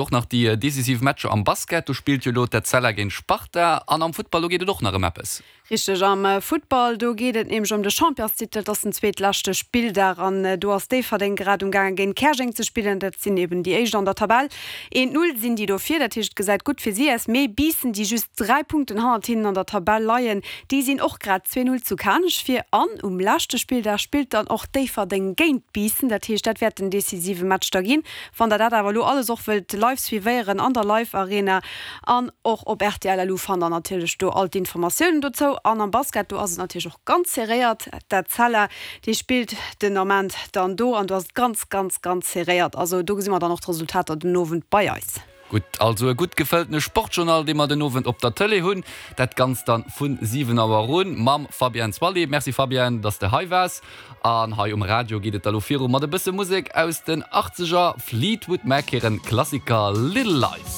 Och nach déi decisiv Matcher am Basket, do spillt jo elo d'Etzella géint Sparta an am Futtball, do geet et och nach ëm eppes. Richteg, am Futtball, do geet et nämlech ëm de Championstitel. Et ass den zweetleschte Spilldag an do ass Déifferdeng grad um gaange géint Käerjeng ze spillen. Dat sinn eben déi éischt an der Tabell. Eent Null sinn déi do vir, dat heescht et gesäit gutt fir si aus. Mee Biissen, déi just 3 Punkten hannert hinnen an der Tabell leien, déi sinn och grad 2 Null zu Kanech vir. An um leschte Spilldag spillt dann och Déifferdeng géint Biissen. Dat heescht dat wäert den decisive Match da ginn. Wann der dat awer elo alles och wëllt live suivéieren an der Live Arena an och op rtl LU fannt der natierlech do all d'Informatiounen dozou. An am Basket do ass et natierlech och ganz serréiert. D'Etzella déi spillt den Ament dann do an do ass et ganz ganz ganz serréiert. Also do gesi mer dann och d'Resultater den Owend bei eis. Gutt, also e gutt gefëlltene Sportjournal, dee mer den Owend op der Tëlee hunn. Dat Ganzt dann vun 7 Auer un mam Fabienne Zwally. Merci Fabienne, dass de hei waars. An hei um Radio geet et da lo viru mat e bësse Musek aus den Achtzeger, Fleetwood Mac hiren Klassiker Little Lies.